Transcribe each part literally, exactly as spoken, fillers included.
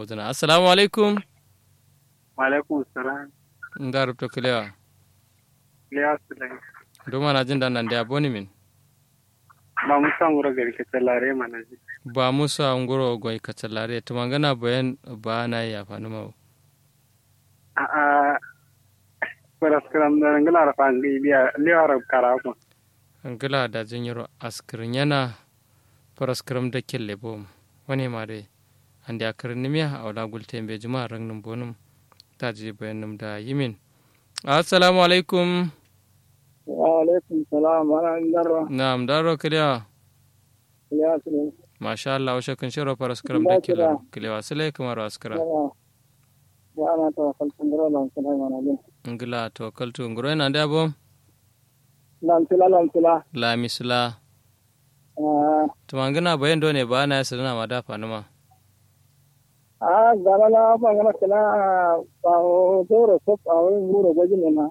gozǝna. Assalamu alaikum. Wa'alaikum salam. Nda rubto kǝlewa? Kǝlewa sǝlai. Ndu manajin da nande aboni min? Ba musa nguro gari kacalare manajin. Ba musa nguro goi kacalare tǝmangǝna bayan. Ba nayi yafanǝma wo? A'a. Faraskǝram dǝ ngǝla rafa ngai biya lewa rab kara ko. Ngǝla daji nyiro askǝrǝnyena. Faraskǝram dakkelle bom. Wane ma dǝ. Ande akǝrǝnnǝmiya awo la gulte mbejima rangnǝm bonǝm. Daji bayannǝm da yimin. Assalamu alaikum. Wa'alaikum salam. Ana ndarro? Na'am ndarro kǝlewa? Kǝlewa sǝlai. Masha allah wushe kǝnshero faraskǝram dakkelle. Kǝlewa sǝlai kǝmaro askǝra. Ngla tawakkaltu nguro yen ande abo? Lamsila lamsila. Lamisila. Tǝmangǝna bayan done ba naye sǝdǝna ma da fanǝma? Ahh gana la fangǝna kǝla. Awo zauro sop awo nguro gojin nena.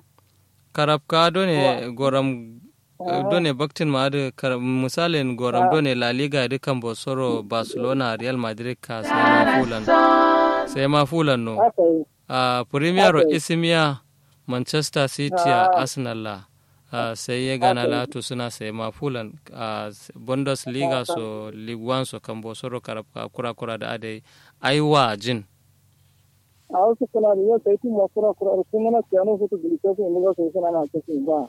Karabka done goram. Done baktin ma adǝ misalin goram done la liga dǝ kambo soro barcelona real madrid ka sai ma fulan. Sai ma fulan no. Ahh premier ro isimiya. Manchester city a arsenal la. Ahh sai ye gana la tusuna sai ma fulan. Ahh bundes liga so league one so kambo soro karabka kura kura dǝ adai. Ai wajin. Awo sǝkkǝna dǝ yo sai tumma kura kura dǝ kǝmǝna kiyano futu gǝli kesu indi ba sai sǝnana kesu ba.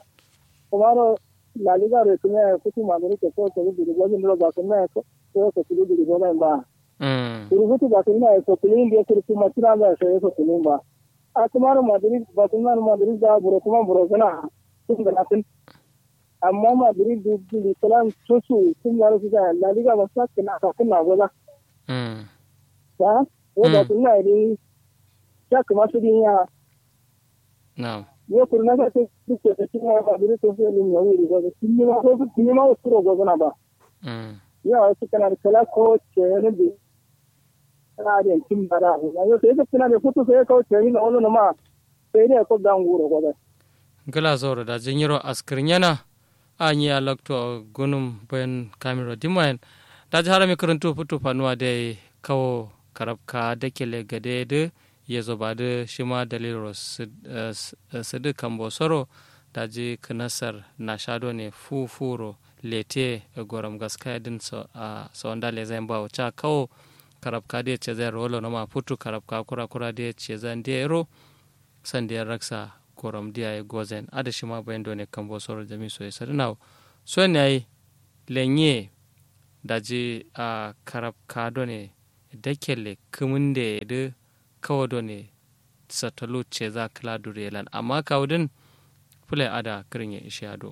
Kǝmaro la liga dǝ kǝmiya ye futu madrid ke so sai gǝli gojin dǝro ba kǝmiya ye so sai so kǝli gǝli gojin ba. Kuru futu ba kǝmiya ye so kǝli indi ye kuru tumma kǝla ba sai so kǝli ba. Ahh kǝmaro madrid ba kǝmiya madrid da buro kǝma buro sǝna. Tun gǝna tun. Amma madrid dǝ gǝli kǝlan sosu tun gǝna sosu la liga ba sakkǝna sakkǝna goza. Ahh yo ba kǝmiya ye dǝ. Sha kǝma sǝdin ya. Na'am. Yo kuru na sha sǝdin ya ba dǝ dǝ sǝdin ya wuri goza sǝdin ma sǝdin ma wusuro gozana ba. Yo awo sǝkkǝna dǝ kǝla kawo ceyeno dǝ. Kǝla adǝ yen cin ba da yo sai sǝkkǝna dǝ futu sai kawo ceyeno dǝ wallonoma. Sai dǝ ye ko gangu wuro goza. Ngla zauro daji nyiro askǝrnyena. Ahh nyi ya lokto gunum bayan kamiro dimma yen. Daji harami kǝrǝntu futu fanuwa dai kawo karabka dakkelle gade dǝ. Yezo ba dǝ shima daliliro sǝdǝ kambo soro. Daji kǝnasar nasha done fu furo lete goram gaskaya dǝn. Sawanda lezain bawo ca kawo karabka dǝ ye cezain ro wallonoma futu karabka kura kura dǝ ye cezain dǝ ye ro. Sandiya raksa goram dǝ yayi gozain adǝ shima bayan done kambo soro jami so ye sadǝna wo. Son yayi lenye. Daji ahh karabka done Dakkelle kǝmǝnde ye dǝ kawo done. Sattalu ceza kǝla duriye lan amma kawu dǝn. Fǝle adǝa kǝrǝnye ishiya do.